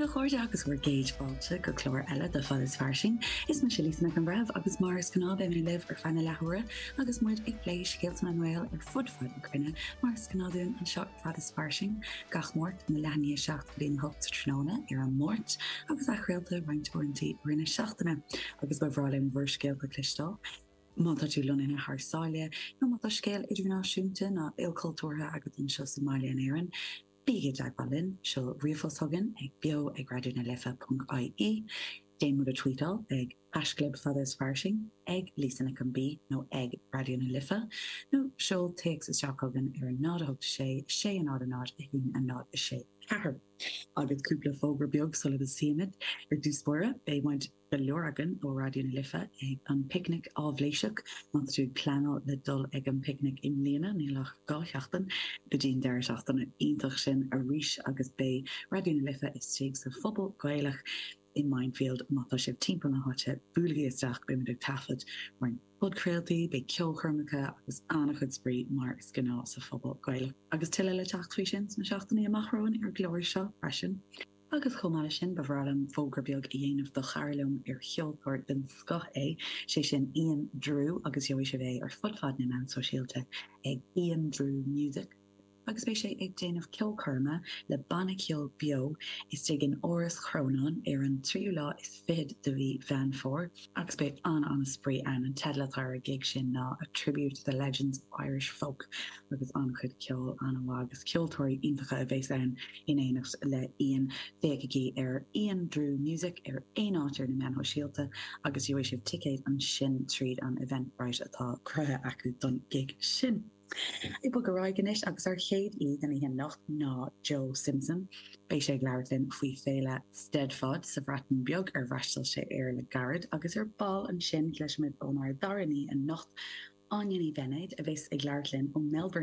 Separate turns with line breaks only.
a chairde agus bhur gcéad fáilte go clár eile de Fad is Fairsing. Is mise Lisa Nic an Bhreithimh agus mar is gnáth beidh mé libh ar feadh na leathuaire agus muid ag plé scéalta na nGael ar fud fad na cruinne mar is gnáth dúinn anseo ar Fad is Fairsing gach Máirt óna leath i ndiaidh 7 go dtí a 8 sa tráthnóna ar an Máirt agus athchraolta roinnt uaireanta i rith na seachtaine agus ba bhreá linn bhur scéalta a chloisteáil. Má tá tú lonnaithe thar sáile nó má tá scéal idirnáisiúnta nó ilchultúrtha agat anseo sa mbaile in Éirinn, Bígí i dteagmháil linn, seol ríomhphost chugainn ag beo ag raidió na life ponc ie, déan muid a tweetáil ag haischlib fada is fairsing, ag Lisa Nic an B nó ag Raidió na Life, nó seol téacs isteach chugainn ar 0 8 6 6 0 0 1 0 6 4. Agus cúpla fógra beag sula dtosaímid. Ar dtús báire, beidh muid. go leor againn ó Raidió na Life ag an bPicnic Áibhléiseach. Má tá tú ag pleanáil le dul ag an bPicnic i mbliana, níl ach 2 sheachtain go dtí an deireadh seachtaine iontach sin arís agus beidh Raidió na Life istigh sa Phuball Gaelach i Mindfield. Má tá sibh timpeall na háite, buailigí isteach, beimid ag taifead roinnt podchraoltaí, beidh ceolchoirmeacha agus an-chuid spraoi mar is gnáth sa Phuball Gaelach. Agus tuilleadh le teacht faoi sin sna seachtainí amach romhainn ar an gclár seo freisin. Agus chomh maith leis sin, ba bhreá liom fógra beag a dhéanamh do chara liom ar cheoltóir den scoth é, sé sin Ian Drew agus gheobhaidh sibh é ar fud fad na meán sóisialta ag Ian Drew Music agus beidh sé ag déanamh ceolchoirme le banna ceoil beo istigh in Áras Chrónáin ar an tríú lá is fichead de mhí Mheán Fómhair agus beidh an-an-spraoi ann. An teideal atá ar an gig sin ná A Tribute to the Legends of Irish Folk agus an-chuid ceoil an-mhaith agus ceoltóirí iontacha a bheas ann in éineacht le Ian. Féachaigí ar Ian Drew Music ar aon áit ar na meáin shóisialta agus gheobhaidh sibh ticéid ansin tríd an Eventbrite atá cruthaithe acu don gig sin. Ag bogadh ar aghaidh anois agus ár chéad aoi den oíche anocht ná Joe Simpson. Beidh sé ag labhairt linn faoi féile Steddfod sa Bhreatain Bheag ar fhreastail sé air le gairid agus ar ball ansin cloisfimid ónár dara haoi anocht, Áine Ní Bheinéid, a bheas ag labhairt linn ó Melbourne.